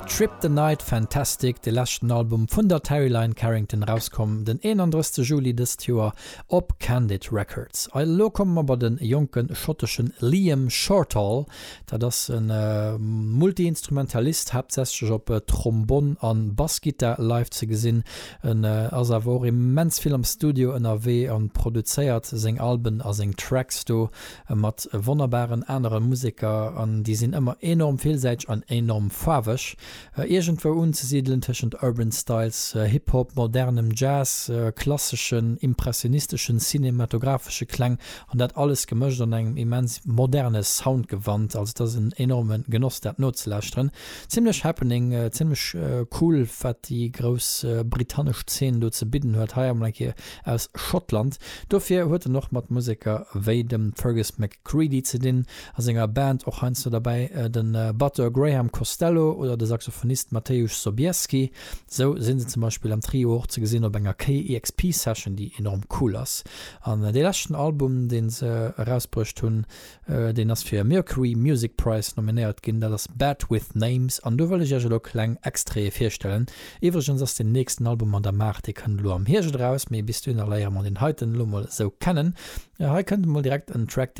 Trip the Night Fantastic, de leschten Album vun der Terri Lyne Carrington, erauskomm den 31 Juli dëst Joer op Candid Records. Elo komme mer bei de jonke schotteschen Liam Shortall. Dat ass e Multi-Instrumentalist, haaptsächlech op Trombonn a Bassgittar live ze gesinn. En ass awer och immens vill am Studio ënnerwee an produzéiert seng Alben a seng Tracks do mat wonnerbaren anere Museker an déi sinn ëmmer enorm villsäiteg an enorm faarweg. Iergendwou unzesidelen tëschent Urban Styles, Hip Hop, modernem Jazz, klasseschen, impressionisteschen, cinematographesche Kläng an dat alles gemëscht an engem immens moderne Soundgewand. Also et ass en enorme Genoss dat nozelauschteren. Zimmlech happening, zimmlech cool wat déi grouss britannesch Zeen do ze bidden huet. Hei emol eng Kéier aus Schottland. Dofir huet en och mat Museker wéi dem Fergus McCreadie ze dinn, a senger Band och heiansdo derbäi de Batteur Graham Costello oder de Saxophonist Mateusz Sobieski. Sou si se zum Beispill am Trio och ze gesinn op enger KEXP Session, déi enorm cool ass. An dee leschten Album, dee se erausbruecht hunn, Deen ass fir e Mercury Music Prize nominéiert ginn. Dat ass Bad With Names an do wëll ech iech elo kleng Extraite virstellen. Iwwregens ass deen nächsten Album an der Maach, dee kënnt elo am Hierscht eraus, mee bis dohinner léiere mer deen heiten elo mol esou kennen. Hei kënnt emol direkt en Track, deen.